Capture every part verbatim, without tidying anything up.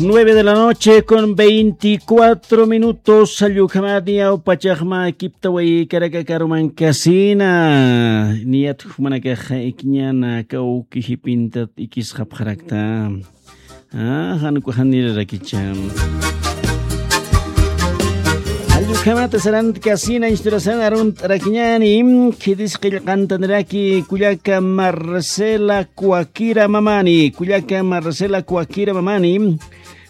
Nueve de la noche con veinticuatro minutos. Allukhamati awpachaxma kiptaway karakakaruman kasina. Niyat jumanakax ikiñana kawki jipintat ikisxapxarakta. Ah, janku janirarakicha. Allukhamata sarant kasina isturasan arunt'arakiñani. Khidis qillqantaniraki kullaka Marcela Kuakira Mamani. Kullaka Marcela Kuakira Mamani.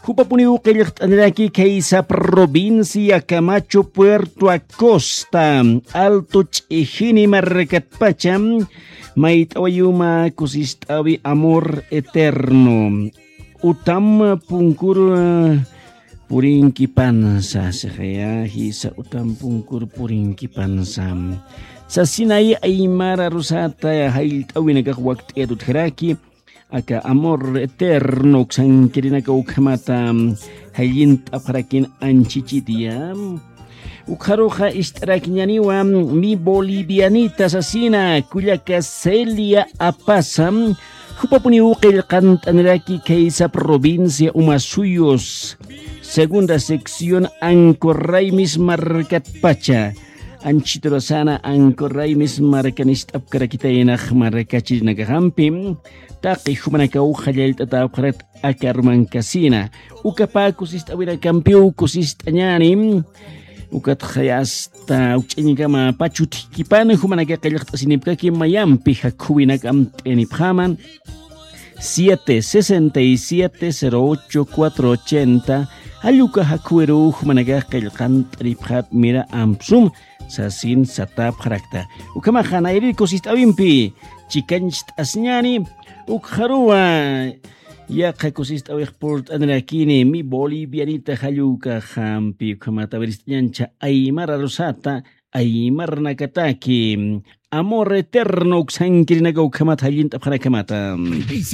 Jupapuniw qillqt'aniraki khaysa provincia Camacho Puerto Acosta, Alto Ch'ijini markatpacha, mayt'awayuma kusist'awi amor eterno. Utam punkur purinkipansa, sixaya jisa utam punkur purinkipansa. Sasinay aymara rusata jallt'awinakax wakt'iyat utjaraki, aka amor eterno uksankirinaka ukhamata jallint'apxarakin anchichitya. Ukxaruxa ist'arakiñaniwa mi bolivianita sasina kullaka Celia Apasa, jupapuniw qillqant'aniraki khaysa provincia Umasuyos, segunda sección Ancorraymis markatpacha. Anchiturasana Ancorraymis markanist'apkarakitaynax markachirinakaxampi taqi jumanakaw jallallt'atäpxarat aka rumankasina. Ukapaku sist'awirakampiw kusist'añani. Ukatxa asta ukch'añkama pachutkipan jumanaka qillqt'asinipkaki mayampi jakhuwinakam t'enipxaman. Siete sesenta y siete cero ocho cuatro ochenta. Alluka jakhuwiruw jumanaka qillqant'anipxat mira ampsum sasin satapxarakta. Ukhamaxa nayri kusist'awimpi chikancht'asñani. Ukxaruwa yaqha kusist'awix purt'anirakini mi bolivianita jallukaxampi ukhamata wirist'añancha aymara rusata aymarnakataki amor eterno uksankirinaka ukhamata jallint'apxanakhamata.